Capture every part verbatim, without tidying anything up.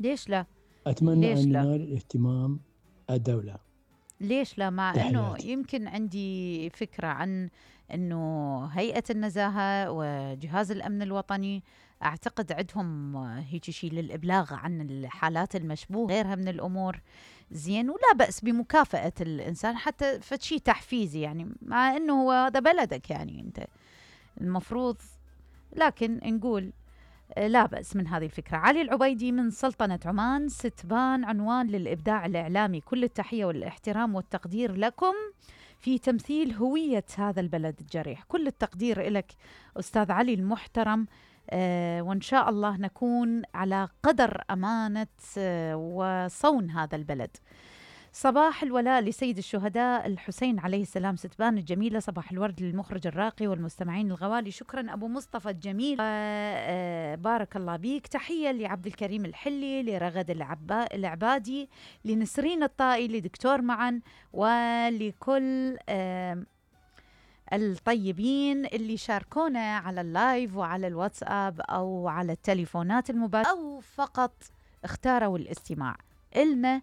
ليش لا؟ أتمنى ليش أن لا؟ ينال اهتمام الدولة. ليش لا؟ مع أنه تحياتي. يمكن عندي فكرة عن أنه هيئة النزاهة وجهاز الأمن الوطني أعتقد عندهم هيك شيء للإبلاغ عن الحالات المشبوهة غيرها من الأمور. زين، ولا بأس بمكافأة الإنسان حتى فشي تحفيزي، يعني مع أنه هو هذا بلدك، يعني أنت المفروض. لكن نقول لا بأس من هذه الفكرة. علي العبيدي من سلطنة عمان: ستبان عنوان للإبداع الإعلامي، كل التحية والاحترام والتقدير لكم في تمثيل هوية هذا البلد الجريح. كل التقدير لك أستاذ علي المحترم، آه وإن شاء الله نكون على قدر أمانة آه وصون هذا البلد. صباح الولاء لسيد الشهداء الحسين عليه السلام. ستبان الجميلة: صباح الورد للمخرج الراقي والمستمعين الغوالي. شكرا أبو مصطفى الجميل، بارك الله بيك. تحية لعبد الكريم الحلي، لرغد العبا العبادي، لنسرين الطائي، لدكتور معا، ولكل الطيبين اللي شاركونا على اللايف وعلى الواتساب أو على التليفونات المباشرة أو فقط اختاروا الاستماع إلنا.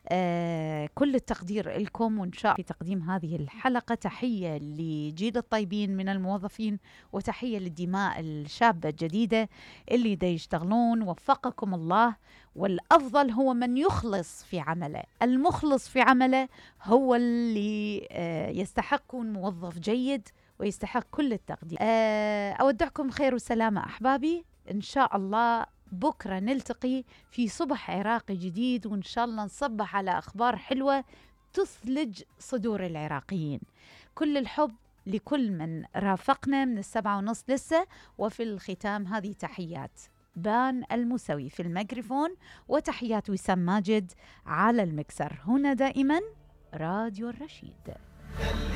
آه كل التقدير لكم، وإن شاء الله في تقديم هذه الحلقة تحية لجيل الطيبين من الموظفين، وتحية للدماء الشابة الجديدة اللي دا يشتغلون. وفقكم الله، والأفضل هو من يخلص في عمله. المخلص في عمله هو اللي آه يستحق يكون موظف جيد ويستحق كل التقدير. آه أودعكم خير وسلامة أحبابي، إن شاء الله بكرة نلتقي في صبح عراقي جديد، وإن شاء الله نصبح على أخبار حلوة تثلج صدور العراقيين. كل الحب لكل من رافقنا من السبعة ونص لسه. وفي الختام هذه تحيات بان المسوي في الميكروفون، وتحيات وسام ماجد على المكسر. هنا دائما راديو الرشيد.